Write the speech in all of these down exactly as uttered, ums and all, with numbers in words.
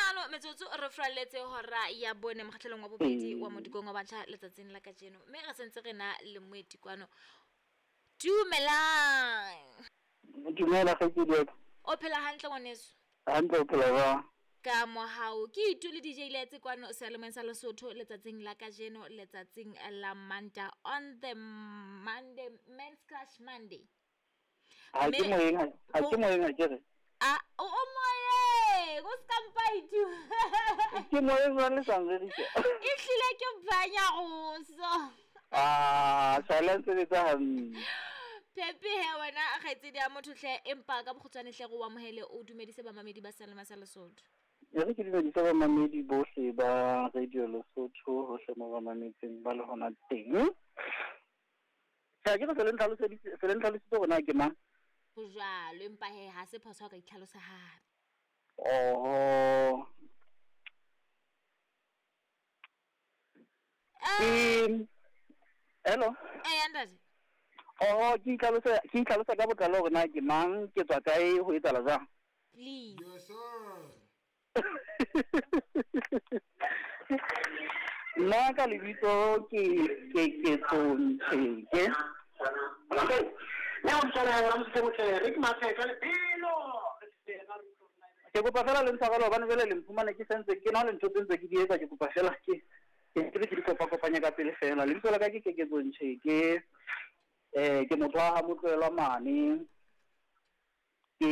hlano metsotso re furaletse hora ya bone mokgahlelong wa bobedi wa modikong wa batjha letsatsing la kajeno, mme re sentse re na le moeti kwano. Dumelang. Dumela kgaitsedi ya ka. O phela hantle ngwaneso? Hantle, o phela jwang? Ka mohau. Ke itu le D J Letse kwano seyalemoyeng sa Lesotho letsatsing la kajeno, letsatsing la Manta, on the Monday, Men's Crush Monday. Ha ke moyeng, ha ke moyeng ha ke re. A o o moyeng, o ska mpa itu. Ke moyeng jwang le sa nrerise? E hlile ke banya roso. Ah, sala sebetsa hantle. Pepe he wena kgaitsedi ya motho hle, empa ka bokgutshwane hle re o amohele, o dumedise bamamedi ba seyalemoya sa Lesotho. E re ke dumedise bamamedi bohle ba Radio Lesotho hohle mo ba mametseng ba le hona teng. Tjhe, ke re se le ntlhaloseditse, se le ntlhalositse hore na ke mang? Ho jwalo, empa he ha se phoso ha o ka itlhalosa hape. Oho. Eh. Hello. Eh, ntate. Oh, ke itlhalosa, ke itlhalosa ka botlalo hore na ke mang, ke tswa kae, ho etsahala jwang? Please. Yes, sir. Nna ka lebitso ke Keketso Ncheke. Ke kopa fela le ntshwarele hobane jwale le mphumane ke sentse ke na le ntho tse ntse ke di etsa, ke kopa fela ke ke ke di kopa-kopanya ka pele fela. Lebitso la ka ke Keketso Ncheke. Eh, ke motho wa ha Motloelwa mane. Ke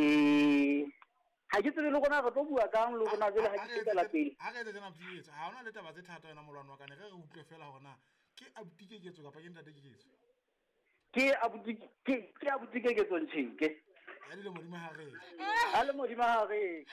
ha ke tsebe le rona re tlo bua kang le rona jwale ha ke fetela pele. Ha re etse tjena abuti, ha hona le taba tse thata yona molwana wa ka, ne re re utlwe fela hore na ke abuti Keketso kapa ke ntate Keketso. Ke abuti, ke, ke abuti Keketso Ncheke. Ya dilemo di mahareng. Ha le modimo mahareng.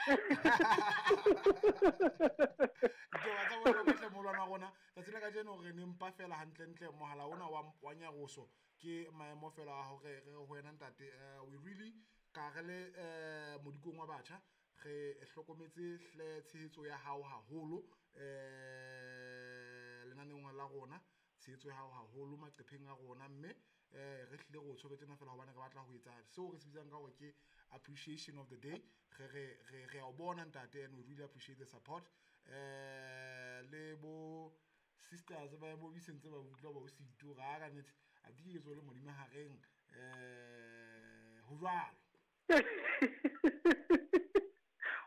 Ditaba tsa bohlokwa hle molwana wa rona. Tsatsi la kajeno re ne mpa fela hantlentle mohala ona wa, wa nyaroso ke maemo fela a hore re ho wena ntate. Eh, we really ka re le, eh, modikong wa batjha re hlokometse hle tshehetso ya hao haholo, eh, lenaneong la rona, tshehetso ya hao haholo maqepheng a rona, mme, eh, re hlile re o tshwere tjena fela hobane re batla ho etsa seo re se bitsang ka hore ke appreciation of the day. Re, re, re, re a o bona ntate, and we really appreciate the support. Eh, le bo sisters ba bo bisentse ba utlwa ba o sito ra ka nnete, a di ke tswe le modimo hareng, eh, ho jwalo.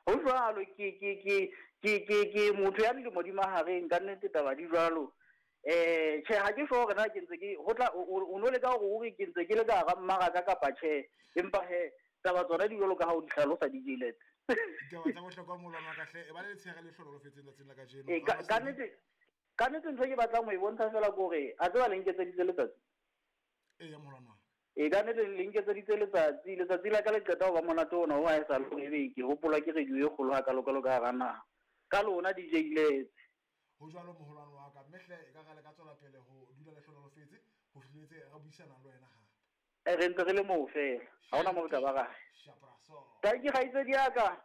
Ho jwalo, ke, ke, ke, ke, ke, ke motho ya dilemo di mahareng, ka nnete taba di jwalo. Eh, tjhe, ha ke sure hore na ke ntse ke, ho tla, o, o, o no leka hore o re ke ntse ke le ka hara mmaraka kapa tjhe, empa he, taba tsona di jwalo ka ha o di hlalosa D J Lets. Ditaba tsa bohlokwa molwana wa ka hle, e ba le letshehare le hlohonolofetseng tsatsing la kajeno. Eh, ka, ka nnete, ka nnete ntho e ke batlang ho e bontsha fela ke hore, a tseba le nketseditse letsatsi? Ee, ya molwana wa ka. E ka nnete le nketseditse letsatsi, letsatsi la ka le qeta ho ba monate ona, ho ha e sa le hore ebe ke hopola ke radio e kgolo hakalo-kalo ka hara naha. Ka lona D J Lets. Ho jwalo moholwane wa ka, mme hle e ka re le ka tswela pele ho dula le hlohonolofetse, ho fihletse re buisana le wena hape. Eh, re ntse re le moo fela, ha hona moo re ka ba ra. Shapraso. Tanki kgaitsedi ya ka.